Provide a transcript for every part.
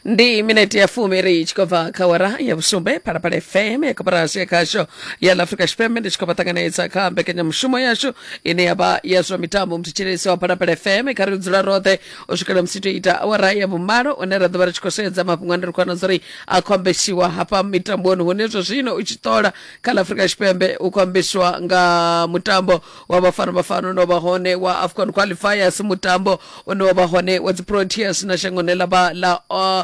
Ndi minete ya fumi ri tshi khou bva kha wara ya vhusumbe. Phalaphala FM ya koporasi ya khasho ya ḽa Afrika Tshipembe ndi tshi khou vha ṱanganedza kha mbekanyamushumo yashu ine ya vha ya zwa mitambo. Muthetshelesi wa Phalaphala FM, kha ri dzula roṱhe u swikela musi to ita awara ya vhumalo, une ra ḓo vha ri tshi khou sedza mafhungo ane ri khou wana uri a khou ambesiwa hafha mitamboni, hune zwa zwino u tshi ṱola kha ḽa Afrika Tshipembe u khou ambesiwa nga mutambo wa Bafana Bafana une wa vha hone wa AFCON qualifiers, mutambo une wa vha hone wa dzi Proteas na shangoni ḽa vha ḽa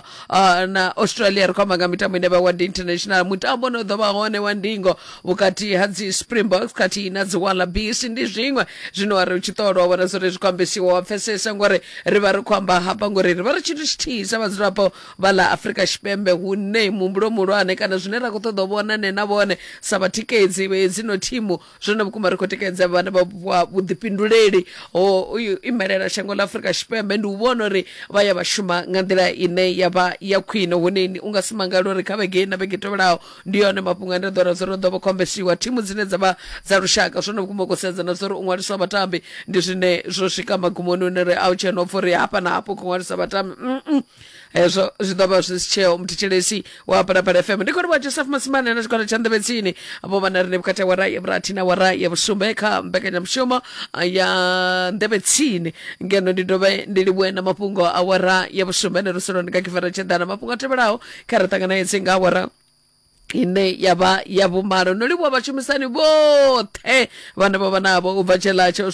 na Australia. Ri khou amba nga mitambo ine vha wa ndi international, mutambo une ḓo vha hone wa ndingo vhukati ha dzi Springboks khathihi na dzi Wallabies. Ndi zwiṅwe zwine wa ri u tshi ṱolwa vhona zwori zwi khou ambesiwa wa pfesesa, ngori ri vha ri khou amba hafha ngori ri vha ri tshithu tshithihi sa vhadzulapo vha ḽa Afrika Tshipembe, hune muhumbulo muhulwane kana zwine ra khou ṱoḓa u vhona nṋe na vhone sa vhatikedzi vha hedzino thimu, zwone vhukuma ri khou tikedza vhane vha fhiwa vhuḓifhinduleli ho imelela shango ḽa Afrika Tshipembe, ndi u vhona uri vha ya vha shuma nga nḓila ine ya vha ya khwine, hune u nga si mangale uri kha vhege na vhege tevhelaho ndi yone mafhungo ane ḓo ra zwo ḓo vha khombesiwa thimu dzine dza vha dza lushaka. Zwone vhukuma khou sedza na zwori u ṅwaliswa vhatambi ndi zwine zwo swika magumoni, une ri a u tshena upfha uri hafha na hafho khou ṅwalisa vhatambi. Hezwo zwi ḓo vha zwi si tsheo. Muthetshelesi wa Phalaphala FM, ndi khou livhuwa Joseph Masimane na tshigwada tsha Nḓevhetsini vho vha na riṋe vhukati ha wara ya vhurathi na wara ya vhusumbe kha mbekanyamushumo ya Nḓevhetsini, ngeno ndi dovhe ndi livhuwe na mafhungo a wara ya vhusumbe ne ruseloni nga kifara tsheḓana. Mafhungo a tevhelaho kha ri ṱanganedze nga awara ine ya vha ya vhumalo. No livhuwa vhashumisani vhoṱhe vhane vha vha navho u bva tsheḽa tsho.